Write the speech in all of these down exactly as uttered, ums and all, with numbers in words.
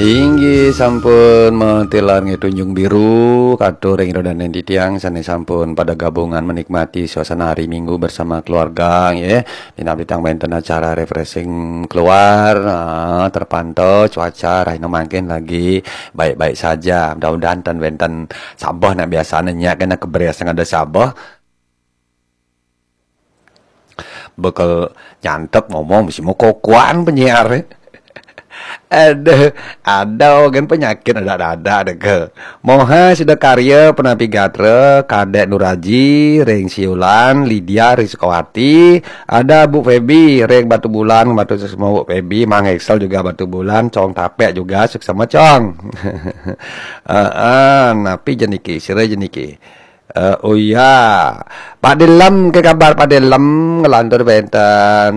Inggih sampun matilar nggih Tunjung Biru, katur ring ida dané titiang sané sampun pada gabungan menikmati suasana hari Minggu bersama keluarga nggih. Dina titiang wénten acara refreshing keluar, ah, terpantau cuaca rahina mangkin lagi baik-baik saja. Mudah-mudahan ten wénten sabeh nak biasané nyak kena kebres sing ada sabeh. Bekel nyantep ngomong mesti mau kokoan penyiar. Aduh, ada kan penyakit ada-ada deh ke. Moha sudah karya penapi gatra, Kadek Nuraji, ring Siulan, Lydia, ring Sukawati, ada Bu Feby, ring Batu Bulan, Batu Sesemo Bu Feby, Mang Excel juga Batu Bulan, Cong Tapek juga, suksema Cong. Heeh, napi jeniki, sira jeniki. Eh, oh iya, Pak Dilem, ke kabar Pak Dilem, ngelantur wénten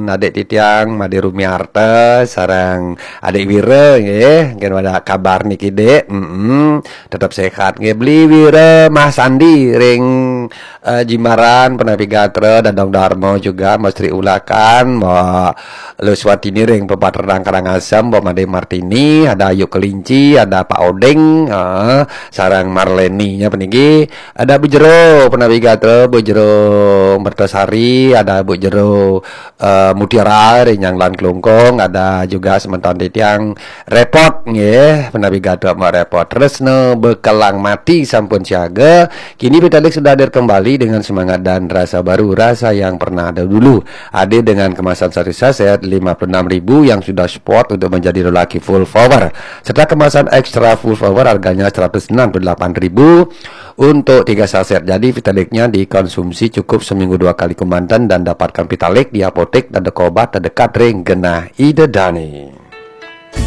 adik titiang Made Rumiarta sareng adik Wira nggih, mungkin ada kabar niki Dik. Mm-mm. Tetap sehat nggih. Beli Wira, Mah Sandi ring eh, Jimbaran, Penapi Gatra, Dadong Darmo juga, Mas Tri Ulakan, Mbak Luswatini ring Pepaterang Karangasem, Mbak Made Martini, ada Ayu Kelinci, ada Pak Odeng, eh, sareng Marleni nya peninggi, ada Bu Jero, Penapi Gatra, Bu Jero Mertasari, ada Bu Jero eh, Mutiara ring Nyanglan Klungkung, ada juga semeton titiang Repot nggih, Penapi Gatra Mak Repot. Tresna bekelang mati sampun siaga, kini Vitalis sudah hadir kembali dengan semangat dan rasa baru, rasa yang pernah ada dulu. Hadir dengan kemasan satu saset lima puluh enam ribu yang sudah support untuk menjadi lelaki full power, serta kemasan extra full power harganya seratus enam puluh delapan ribu untuk tiga saset. Jadi Vitaliknya dikonsumsi cukup seminggu dua kali kemanten dan dapatkan Vitalik di apotek dan toko obat terdekat ring genah ida dané.